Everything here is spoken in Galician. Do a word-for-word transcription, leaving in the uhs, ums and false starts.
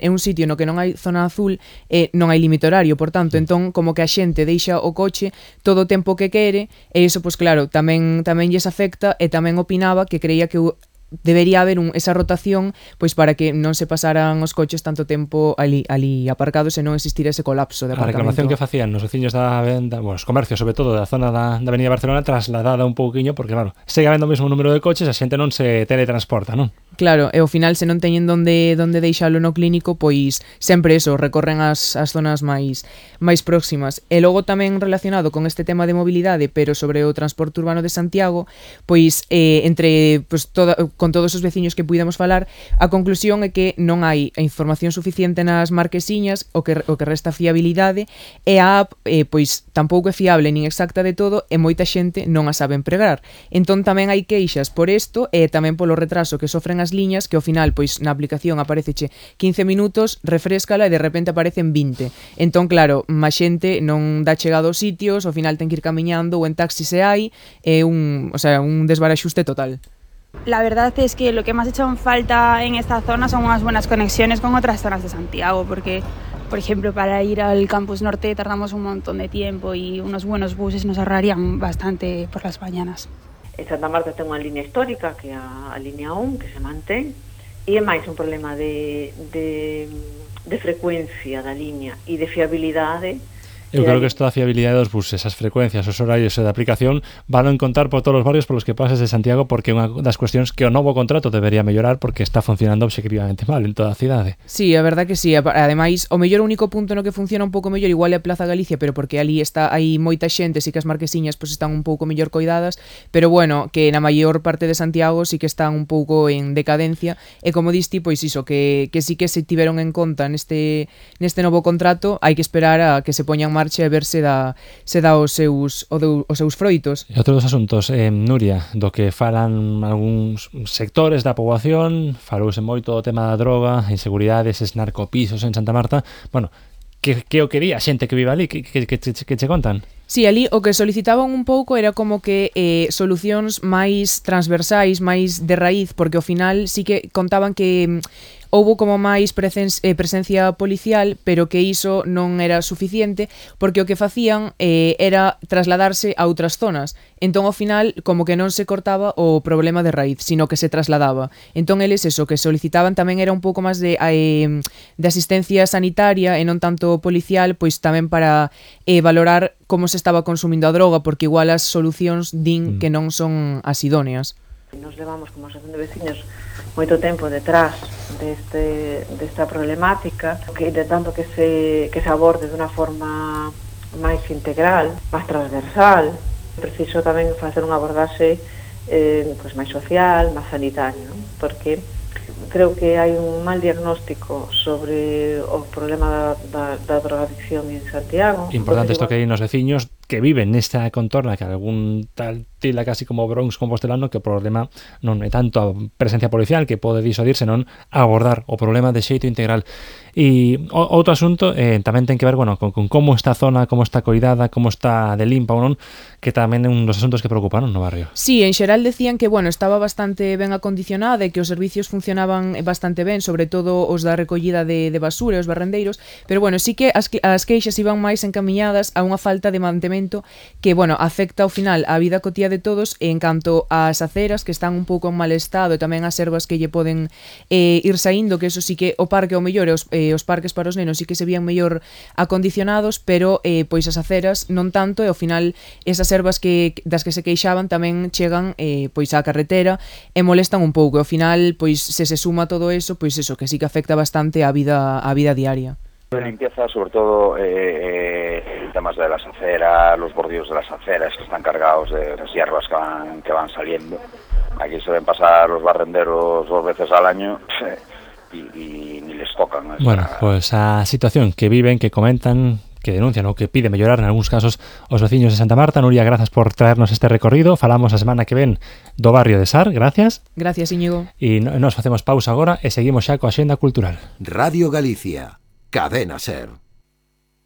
é un sitio no que non hai zona azul e non hai límite horario, por tanto, entón como que a xente deixa o coche todo o tempo que quere e iso, pois claro, tamén tamén lles afecta e tamén opinaba que creía que debería haber un, esa rotación pois para que non se pasaran os coches tanto tempo ali, ali aparcados e non existira ese colapso de aparcamento. A reclamación que facían os veciños da venda, bueno, os comercios, sobre todo da zona da, da Avenida Barcelona, trasladada un pouquiño, porque claro, segue habendo o mesmo número de coches, a xente non se teletransporta, non? Claro, e ao final se non teñen donde donde deixalo no clínico, pois sempre eso, recorren as, as zonas máis máis próximas. E logo tamén relacionado con este tema de mobilidade, pero sobre o transporte urbano de Santiago, pois eh, entre pois, toda, con todos os veciños que puidemos falar, a conclusión é que non hai a información suficiente nas marquesiñas, o que, o que resta fiabilidade, e a app eh, pois tampouco é fiable nin exacta de todo e moita xente non a sabe empregar. Entón tamén hai queixas por isto e tamén polo retraso que sofren as liñas, que ao final pois na aplicación apareceche quince minutos, refréscala e de repente aparecen vinte. Entón claro, má xente non dá chegado aos sitios, ao final ten que ir camiñando ou en taxi se hai, é un, o sea, un desbaraxuste total. La verdad es que lo que más ha hecho en falta en esta zona son unas buenas conexiones con otras zonas de Santiago, porque, por ejemplo, para ir al Campus Norte tardamos un montón de tiempo y unos buenos buses nos ahorrarían bastante por las mañanas. En Santa Marta ten unha línea histórica, que é a, a línea un, que se mantén, e é máis un problema de, de, de frecuencia da línea e de fiabilidade. Eu creo que isto da fiabilidade dos buses, as frecuencias, os horarios e da aplicación van a encontrar por todos os barrios polos que pases de Santiago, porque é unha das cuestións que o novo contrato debería mellorar porque está funcionando obxectivamente mal en toda a cidade. Sí, a verdad que sí. Ademais, o mellor único punto no que funciona un pouco mellor igual é a Plaza Galicia, pero porque ali está hai moita xente, sí que as marquesiñas pois están un pouco mellor coidadas, pero bueno, que na maior parte de Santiago sí que están un pouco en decadencia e como diste, pois iso, que, que sí que se tiveron en conta neste, neste novo contrato, hai que esperar a que se poñan marcha e ver se dá, se dá os seus, os seus froitos. E outro dos asuntos, eh, Nuria, do que falan algúns sectores da poboación, falouse moito o tema da droga, inseguridade, eses narcopisos en Santa Marta, bueno, que, que o quería a xente que vive ali, que, que, que, que, que che contan? Sí, ali o que solicitaban un pouco era como que eh, solucións máis transversais, máis de raíz, porque ao final sí que contaban que houbo como máis presen- eh, presencia policial, pero que iso non era suficiente, porque o que facían eh, era trasladarse a outras zonas. Entón, ao final, como que non se cortaba o problema de raíz, sino que se trasladaba. Entón, eles, eso, que solicitaban tamén era un pouco máis de, eh, de asistencia sanitaria e non tanto policial, pois tamén para eh, valorar como se estaba consumindo a droga, porque igual as solucións din mm. que non son as idóneas. Nos levamos como asociación de veciños moito tempo detrás deste, desta problemática, que intentando que se, que se aborde de unha forma máis integral, máis transversal. Preciso tamén facer unha abordaxe eh, pues máis social, máis sanitario, ¿no? Porque creo que hai un mal diagnóstico sobre o problema da, da, da drogadicción en Santiago. Importante isto que hai nos veciños que viven nesta contorna, que algún tal tila casi como Bronx compostelano, que o problema non é tanto a presencia policial que pode disuadir, senón abordar o problema de xeito integral. E o, outro asunto eh, tamén ten que ver, bueno, con, con como está a zona, como está coidada, como está de limpa ou non, que tamén é un dos asuntos que preocuparon no barrio. Sí, en xeral decían que, bueno, estaba bastante ben acondicionada e que os servicios funcionaban bastante ben, sobre todo os da recollida de, de basura e os barrendeiros, pero, bueno, sí que as, as queixas iban máis encamiñadas a unha falta de mantemento que, bueno, afecta ao final a vida cotía de todos en canto ás aceras que están un pouco en mal estado e tamén as ervas que lle poden eh, ir saindo, que eso sí que o parque o mellor, os, eh, os parques para os nenos sí que se vían mellor acondicionados, pero eh, pois as aceras non tanto e ao final esas ervas que, das que se queixaban tamén chegan eh, pois á carretera e molestan un pouco e ao final pois se se suma todo eso, pois eso que sí que afecta bastante a vida, a vida diaria. De limpieza, sobre todo eh, temas de las aceras, los bordillos de las aceras que están cargados de las hierbas que van, que van saliendo. Aquí se ven pasar los barrenderos dos veces al año y, y ni les tocan. Esa... Bueno, pues a situación que viven, que comentan, que denuncian ou que pide mellorar en algúns casos os veciños de Santa Marta. Nuria, grazas por traernos este recorrido. Falamos a semana que ven do barrio de Sar, gracias. Gracias, Íñigo. E nos facemos pausa agora e seguimos xa coa Axenda Cultural. Radio Galicia, Cadena Ser.